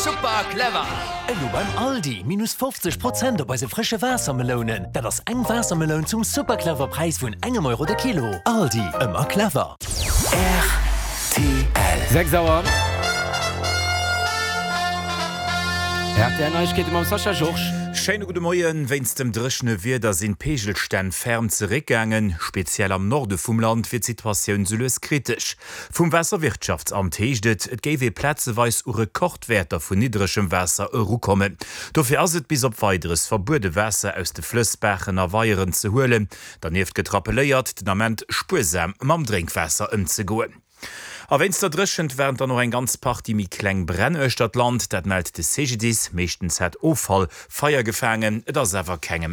Super clever! Elo beim Aldi, minus 50 Prozent op eise frësche Waassermelounen. Dat ass eng Waassermeloun zum super clever Präis vun engem Euro de Kilo. Aldi, ëmmer clever. Rtl. 6 Auer. Rtl Neiegkeete mam Sascha Georges. Schéine gudde Moien. Wéinst dem dréchene Wieder sinn d'Peegelstänn ferm zeréckgaangen. Speziell am Norde vum Land wier d'Situatioun sou lues kritesch. Vum Waasserwirtschaftsamt heescht et, et géif ee plazeweis u Rekordwäerter vun niddregem Waasser erukommen. Dofir ass et bis op Weideres verbuede Waasser aus de Flëss, Baachen a Weieren ze huelen. Dernieft gëtt rappelléiert, den Ament spuersam mam Drénkwaasser ëmzegoen. A wéinst der Dréchent waren dann och eng ganz Partie méi kleng Bränn uechter d'Land. Dat mellt de CGDIS. Meeschtens hätt Offall Feier gefaangen, et ass awer kengem.